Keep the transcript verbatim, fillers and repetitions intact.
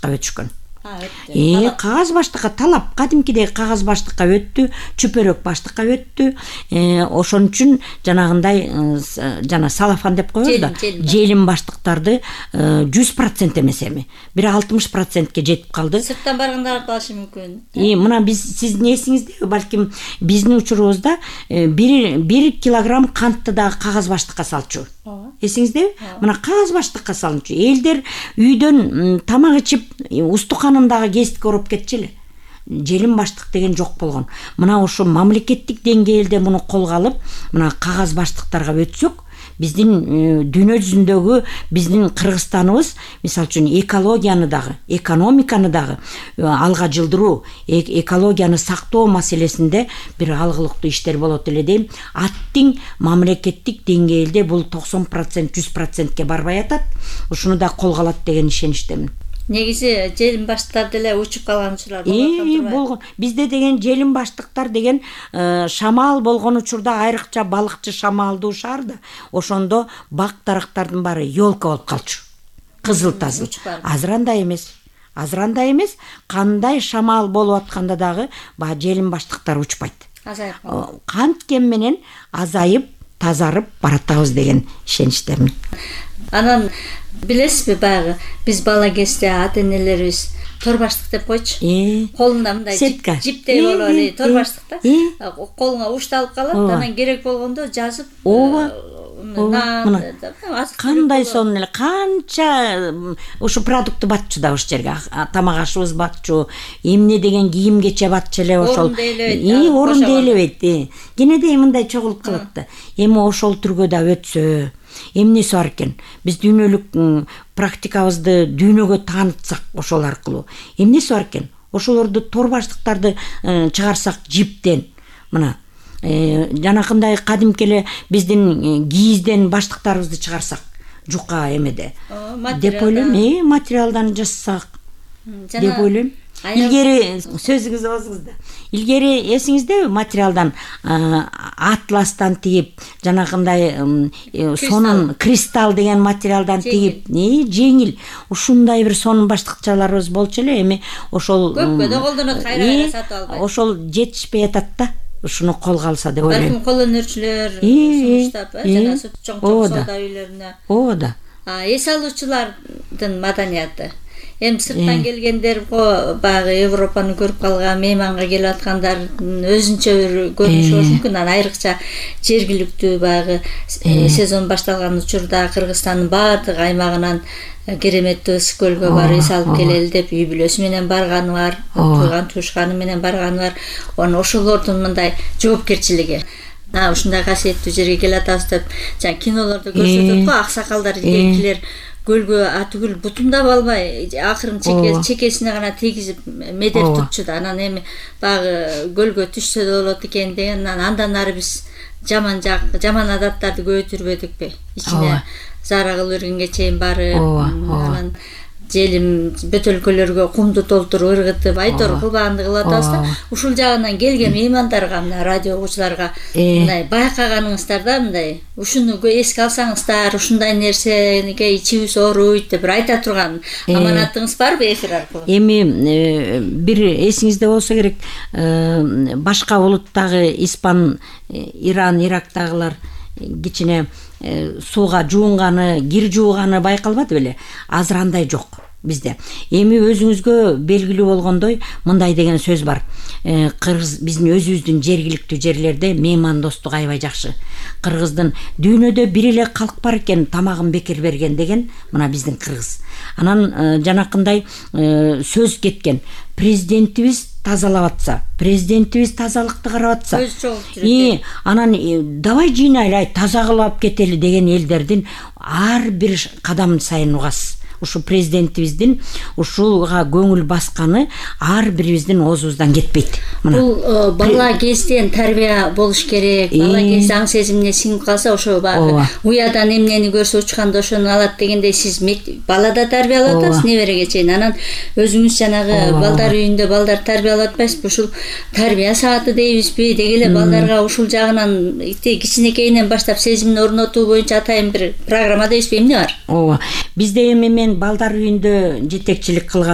баштыкка өтүшкөн. Э, кагаз баштыкка талап кадимкидей кагаз баштыкка өттү, чүпөрөк баштыкка өттү. Э, ошон үчүн жанагындай жана салафан деп коебуз да, желим баштыктарды жүз процент эмес эми бир алтымыш процентке жетип калды. Сырттан баргандар алышы мүмкүн. Э, мына биз сиздин эсиңизде балким биздин учурубузда бир бир килограмм кантты дагы кагаз баштыкка салчу. Эсиңиздеби? Мына кагаз баштыкка салынчу. Элдер үйдөн тамак ичип устуканындагы кесикке ороп кетчү эле. Желим баштык деген жок болгон. Мына ошо мамлекеттик деңгээлде муну колго алып, мына кагаз баштыктарга өтсөк, биздин дүйнө жүзүндөгү биздин Кыргызстаныбыз мисалы үчүн экологияны дагы, экономиканы дагы алга жылдыруу, экологияны сактоо маселесинде бир алгылыктуу иштер болот эле дейм. Аттиң мамлекеттик деңгээлде бул токсон процент жүз процентке барбай атат. Ушуну да колго алат деген ишеничтемин. Негизи желим баштыктар деле учуп калган учурлар болот. болгон. Бизде деген желим баштыктар деген шамал болгон учурда, айрыкча балыкчы шамалдуу шаарда, ошондо бак дарактардын баары ёлка болуп калчу. Кызыл тазыл. Азыр андай эмес. Азыр андай эмес. Кандай шамал болуп атканда дагы баягы желим баштыктар учпайт. Азайып. Канткен менен азайып, тазарып баратабыз деген ишеничтемин. Анан билесизби, баягы биз бала кезде ата-энелерибиз тор баштык деп койчу. Колунда мындай жиптей болуп эле тор баштык да. Колуңа ушталып калат, анан керек болгондо жазып. Ооба. Кандай сонун эле, канча ушу продукты батчу да ошол жерге. Тамак ашыбыз батчу, эмне деген кийим кече батчу эле ошол. И орун дейлебейт. Кенедей мындай чогулуп калат да. Эми ошол түргө да өтсө, эмнеси бар экен? Биз дүйнөлүк практикабызды дүйнөгө таанытсак ошол аркылуу. Эмнеси бар экен? Ошолорду тор баштыктарды чыгарсак жиптен, мына жанакындай кадимки эле биздин кийизден баштыктарыбызды чыгарсак, жука эмеде деп ойлойм. Э, материалдан жасасак деп ойлойм. Илгери сөзүңүз болсуңузда. Илгери эсиңиздеби, материалдан атластан тигип, жанагындай сонун кристалл деген материалдан тигип, жеңил. Ушундай бир сонун баштыкчаларыбыз болчу эле. Эми ошол көпкө колдонот, кайра сатып албайт. Ошол жетишпей атат да. Ушуну колго алса деп ойлойм. Балким кол өнөрчүлөр сунуштап, жана чоң чоң соода үйлөрүнө. Ооба да. Эс алуучулардын маданияты. Эми сырттан келгендер баягы Европаны көрүп калган, мейманга келип аткандардын өзүнчө бир көрүнүшү болушу мүмкүн. Анан айрыкча жергиликтүү баягы сезон башталган учурда Кыргызстандын баардык аймагынан кереметтүү ысык көлгө барып эс алып келели деп үй бүлөсү менен барганы бар, тууган туушканы менен барганы бар. Анан ошолордун мындай жоопкерчилиги. А ушундай касиеттүү жерге келатабыз деп, жана кинолордо көрсөтөт го, аксакалдар, илгеркилер көлгө атүгүл бутундап албай, акырын чекесине гана тийгизип медеп турчу да. Анан эми баягы көлгө түшсө да болот экен деген. Андан ары биз жаман жак, жаман адаттарды көбөйтүрбөдүкпү? Ичине зара кылып бергенге чейин барып, анан желим бөтөлкөлөргө кумду толтуруп ыргытып, айтор кылбаганды кылып атабыз да. Ушул жагынан келген меймандарга, мына радио угуучуларга мындай байкаганыңыздар да, мындай ушуну эске алсаңыздар, ушундай нерсеге ичибиз ооруйт деп айта турган аманатыңыз барбы эфир аркылуу? Эми бир эсиңизде болсо керек, башка улуттагы испан, Иран, Ирактагылар кичине сууга жуунганы, кир жууганы байкалбады беле? Азыр андай жок бизде. Эми өзүңүзгө белгилүү болгондой, мындай деген сөз бар. Кыргыз биздин өзүбүздүн жергиликтүү жерлерде меймандостук аябай жакшы. Кыргыздын дүйнөдө бир эле калк бар экен, тамагын бекер берген деген, мына биздин кыргыз. Анан жанакындай сөз кеткен. Президентибиз тазалап атса, президентибиз тазалыкты карап атса, и анан давай жыйнайлы, таза кылып кетели деген элдердин ар бир кадам сайын угасыз. Ушу президентибиздин ушуга көңүл басканы ар бирибиздин оозубуздан кетпейт. Бул бала кезден тарбия болуш керек. Бала кезде аң сезимине сиңип калса, ошо баягы уядан эмнени көрсө учканда ошону алат дегендей, сиз балада тарбиялап атасыз небереге чейин. Анан өзүңүз жанагы балдар үйүндө балдар тарбиялап атпайсызбы? Ушул тарбия сааты дейбизби? Деги эле балдарга ушул жагынан кичинекейинен баштап сезимин орнотуу боюнча атайын бир программа дейбизби? Эмне бар? Ооба. Бизде эми балдар үйүндө жетекчилик кылган